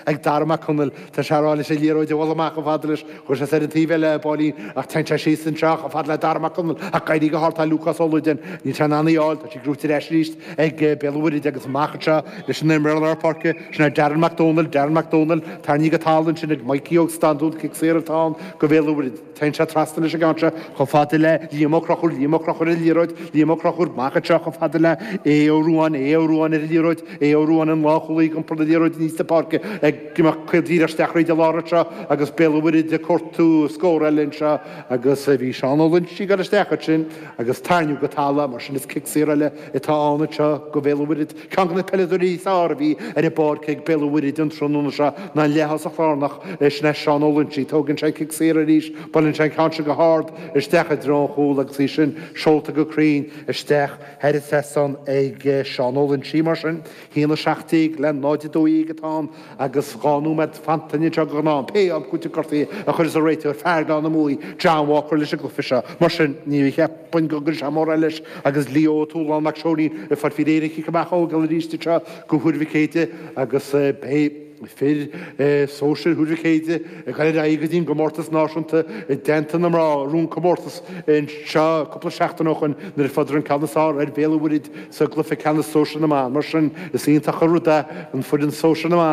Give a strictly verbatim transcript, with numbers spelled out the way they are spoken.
ag Dara Mac Conaill. Tá sé ag rá leis an liathróid a dhul amach chomh fada leis. Chuir sé ar an taobh eile Báilín ach téann sé síos anseo chomh fada le Dara Mac Conaill ach éirí go hard tá Lúcás Ó Loideáin. Níl sé in ann í a fháil, tá sí gnóite ar ais arís ag Béal an Mhuirthead agus amach anseo leis an imreoir lár páirce, sin é Darren Mac Dónaill, Darren Mac Dónaill, tarraingthe go talamh ansin ag Mikey Óg Standún, cic saor atá ann go Bhéal an Mhuirthead. Téann sé trasna leis an gceann seo chomh fada le Liam Ó Conchúir, Liam Ó Conchúir ar an liathróid, Liam Ó Conchúir amach anseo chomh fada le Aodh Ó Ruáin, Aodh Ó Ruáin ar an liathróid, Aodh Ó Ruáin an lánchúlaí ag iompar na liathróide aníos na páirce ag imeacht caol díreach isteach thríd an lár anseo agus Béal an Mhuirthead ag cuartú scór eile anseo agus bhí Seán Ó Loinsigh ag dul isteach ansin agus tarraingíodh go talamh mar sin is cic saor eile atá ann anseo go Bhéal an Mhuirthead. Ceann de na peileadóirí is fearr a bhí ar an bpáirc ag Béal an Mhuirthead an tráthnóna seo ná an leath-thosach lárnach sin é Seán Ó Loinsigh. Tógann sé cic saor arís, buaileann sé an ceann seo go hard isteach i dtreo an chúil agus í sin seolta go cruinn isteach thar an trasnán ag Seán Ó Loinsigh. Mar sin, haon a seacht déag le náid a dó dhéag atá ann agus dhá nóiméad fanta anseo go gnáth pé am cúiteamh gortaithe a chuirfeas an réiteoir fear Ghleann na Muaidhe, John Walker leis an gcluiche seo. Mar sin, ní cheapfainn go gcuirfidh sé mórán leis agus Leo Ó Tualáin Mac Seoinín ag fáil faoi réir an chic amach a thógáil arís anseo go Thuar Mhic Éadaigh agus beidh fir sóisir Thuar Mhic Éadaigh ag dul ar aghaidh go dtí an gcomórtas náisiúnta i dteannta na mná a bhuaigh an comórtas anseo cúpla seachtain ó shin nuair a fuaireadar an ceann is fearr ar Bhéal an Mhuirthead sa gcluiche ceannais sóisir na mban. Mar sin is iontach an rud é an foireann sóisir na mban.